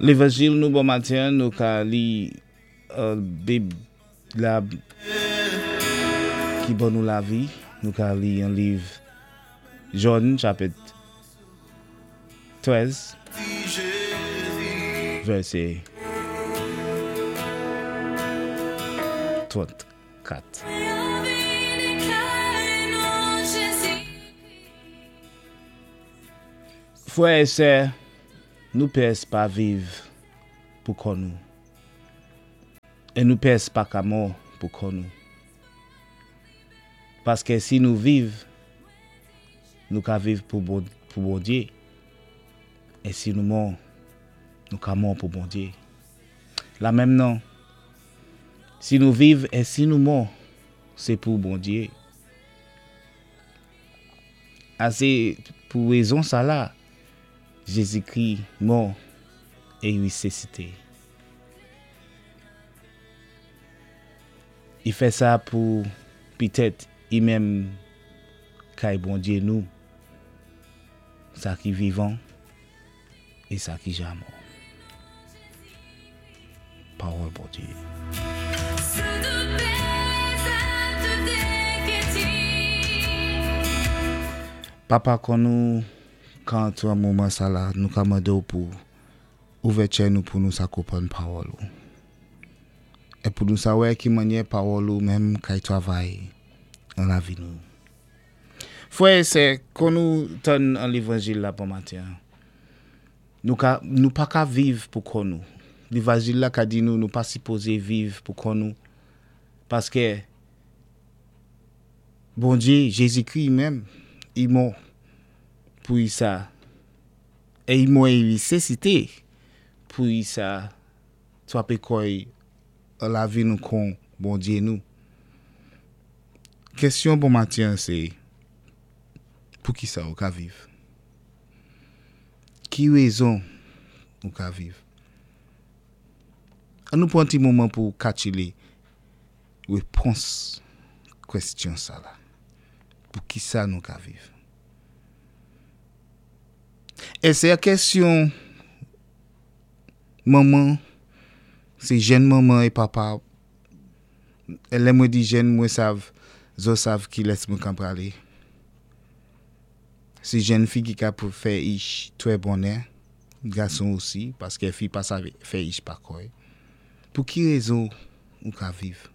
Lévanjil nou bon matin, nou ka li Bib la ki ban nou lavi, nou ka li an liv Jòn chapit 13 vèsé 34. Frè e sè, nou pès pa viv pou kò nou, e nou pès pa ka mò pou kò nou. Paskè si nou viv, nou ka viv pou Bondye, e si nou mò, nou ka mò pou Bondye. La menm nan, si nou viv e si nou mò, sé pou Bondye. A sé pou rézon sa la Jézikri mò é wisisité. I fè sa pou pitèt i menm kay Bondye nou, sa ki vivan é sa ki ja mò. Pawòl Bondye. Papa kon nou ka antré an moman sa la nou ka mandé w pou ouvè tchè nou pou nou sa konprann pawòl ou é pou nou sa wè ki mannyè pawòl ou menm kay travay an lavi nou. Frè é sè kon nou tann an levanjil la bon maten an. Nou ka, nou pa ka viv pou kò nou. Levajil la ka di nou nou pa sipoze viv pou kò nou, paske Bondye, Jezikri menm, i mò pou i sa, e i mò e i resisite pou i sa trape kò i an lavi nou kon Bondye nou. Kesyon bon maten an se, poukisa ou ka viv? Ki rezon ou ka viv? An nou pran ti moman pou katchile repons kwestyon sa la. Pou ki sa nou ka viv? E se yon kesyon manman, se jèn manman e papa, e lè mwen di jèn mwen sav, zo sav kilès mwen kan prale. Se jèn fi ki ka pou fè ich trè bonè, gason osi, paske fi pa save fè ich pa kòy. Pou ki rezon ou ka viv?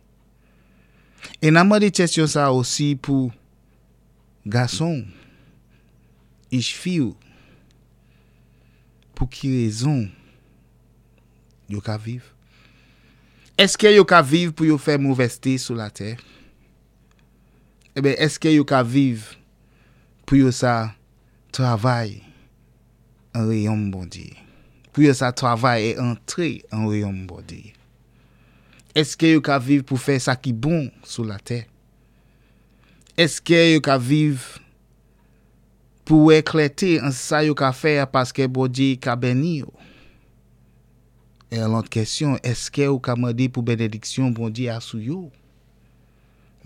E nan mande kesyon sa osi pou gason ich fi ou, pou ki rezon yo ka viv? Eske yo ka viv pou yo fè movèzte sou latè? Eben, eske yo ka viv pou yo sa travay an reyòm Bondye? Pou yo sa travay e antre an reyòm Bondye? Eske yo ka viv pou fè sa ki bon sou latè? Eske yo ka viv pou wè klète an sa yo ka fè a paske Bondye ka beni yo? E an lòt kesyon, eske ou ka mande pou benediksyon Bondye a sou yo?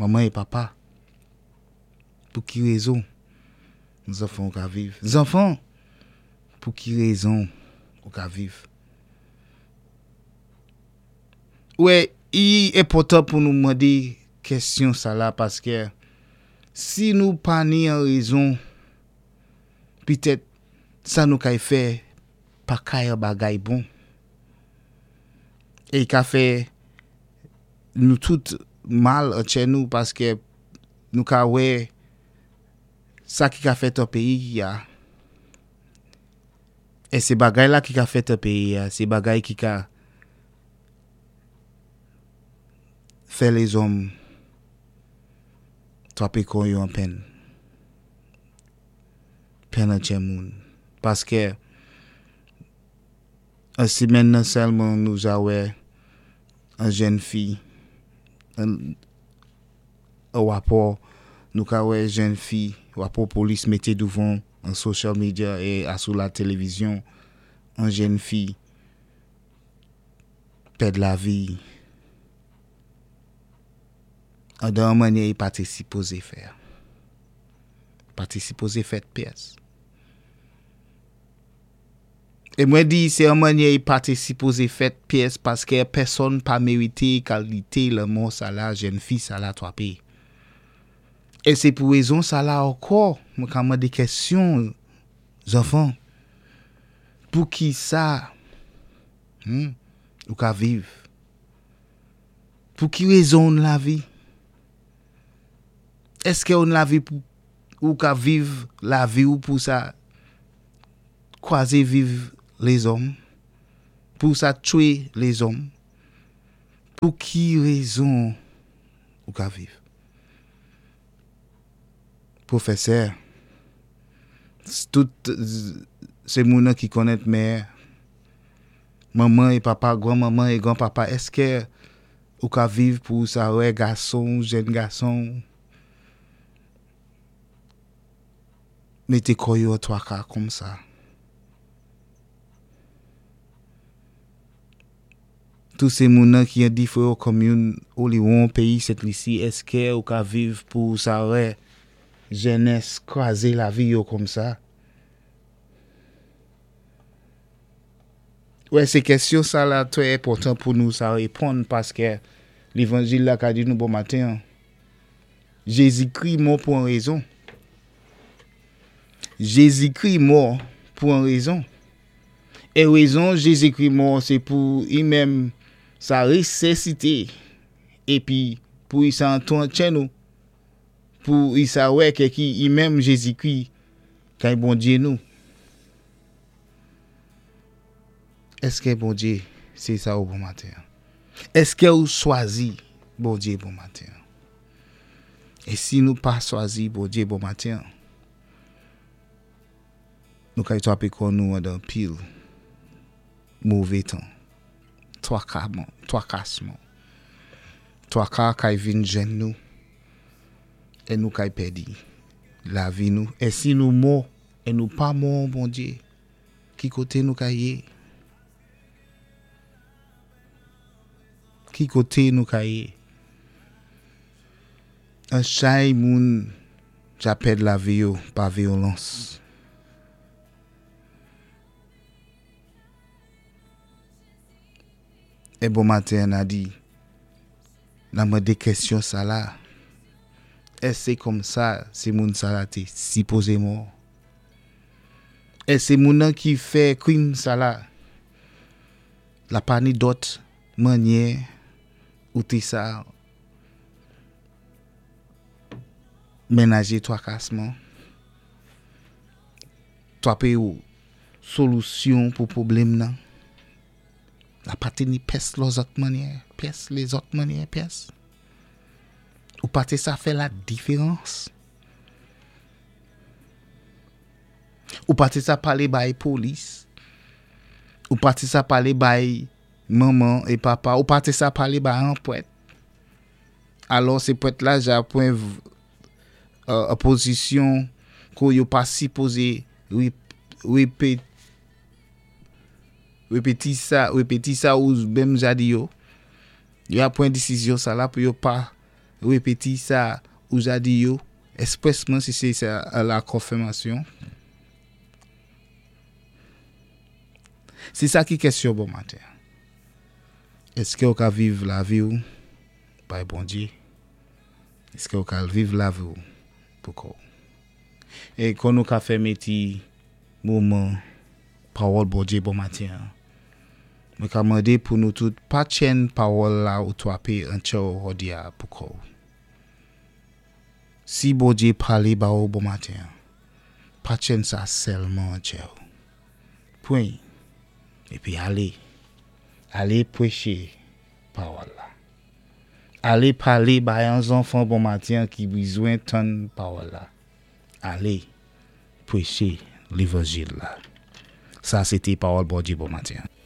Manman e papa, pou ki rezon zanfan ou ka viv? Zanfan, pou ki rezon ou ka viv? Ou wè, i enpòtan pou nou mande kesyon sa la paske si nou pa ni an rezon, petèt sa nou kay fè pa kay an bagay bon. E i ka fè nou tout mal antchè nou paske nou ka wè sa ki ka fèt an peyi a e se bagay la ki ka fèt an peyi a se bagay ki ka fè lezòm trape kò yo an penn penn antchè moun paske An semèn nan sèlman nou ja wè an jèn fi an rapò nou ka wè jèn fi rapò polis mete douvan an social media e a sou la televizyon an jèn fi pèd lavi andan an manyè i pa te sipoze fè a pa te sipoze fèt pyès. É mwen di sé an mannyè i pa té sipozé fèt pyès paskè pèsonn pa mérité kalité lanmò sala jèn fi sala twapé. É sé pou wézon sala ankò mwen ka mandé kèsyon zanfan, poukisa ou ka viv? Pou ki wézon ou nan lavi? Èskè ou nan lavi pou ou ka viv lavi-w pou sa kwazé viv lézòm, pou sa tchwé lézòm? Pou ki wézon ou ka viv? Pwofèsè, tout sé moun-nan ki konnèt mè, manman é papa, gran manman é gran papa, èskè ou ka viv pou sa wè gason, jèn gason mété kò yo an twaka konmsa? Tou sé moun-nan ki an diféwan konminn Oliwon, péyi Sent Lisi, èskè ou ka viv pou sa wè jènès kwazé lavi yo konmsa? Wè sé kèsyon sala twè enpòtan pou nou sa réponn paskè lévanjil la ka di nou bon maten an Jézikri mò pou an rézon. Jézikri mò pou an rézon. É rézon Jézikri mò sé pou i menm sa résisité épi pou i sa antwantyen nou, pou i sa wè kè ki i menm Jézikri kay Bondyé nou. Èskè Bondye sé sa ou bon maten an? Èskè ou swazi Bondye bon maten an? E si nou pa swazi Bondye bon maten an, nou kay twapé kò nou andan pil mové tan, twakaman, twakasman. Twaka kay vin jwenn nou e nou kay pèdi lavi nou. E si nou mò e nou pa mò Bondye, Ki koté nou ka yé? Ki koté nou ka yé? An chay moun ja pèd lavi yo pa vyolans. E bon maten an na di, na mandé kèsyon sa la, èske sé kòm sa sé moun sa la té sipozé mò? E se moun nan ki fè krim sa la. La pa ni dòt mannyè ou te sa menaje twakasman. Twape ou solusyon pou pwoblèm nan. La pa te ni pès lòzòt mannyè, pyès lezòt mannyè, pyès. Ou pa te sa fè la diferans. Ou pa te sa palé bay polis. Ou pa te sa palé bay manman é papa. Ou pa te sa palé bay an pwèt. Alò sé pwèt la ja pwan pozisyon kou yo pa sipoze repeti sa, repeti sa ou menm ja di yo. Yo a pwan desizyon sa la pou yo pa repeti sa ou ja di yo. Espresman si se sa la konfirmasyon. Se sa ki kesyon bon maten. Eske ou ka viv lavi ou bay Bondye? Eske ou ka viv lavi ou pou kò ou? E kon nou ka fèmen ti moman pawòl Bondye bon maten an. Mwen ka mande pou nou tout pa tchèn pawòl la ou twape an tchè ou hòdi a pou kò ou. Si Bondye pale ba ou bon maten an, pa tchèn sa sèlman an tchè ou. Pwen, epi ale. Ale pweche pawòl la. Ale pale bay an zanfan bon maten an ki bizwen tann pawòl la. Ale pweche levanjil la. Sa se te pawòl Bondye bon maten an.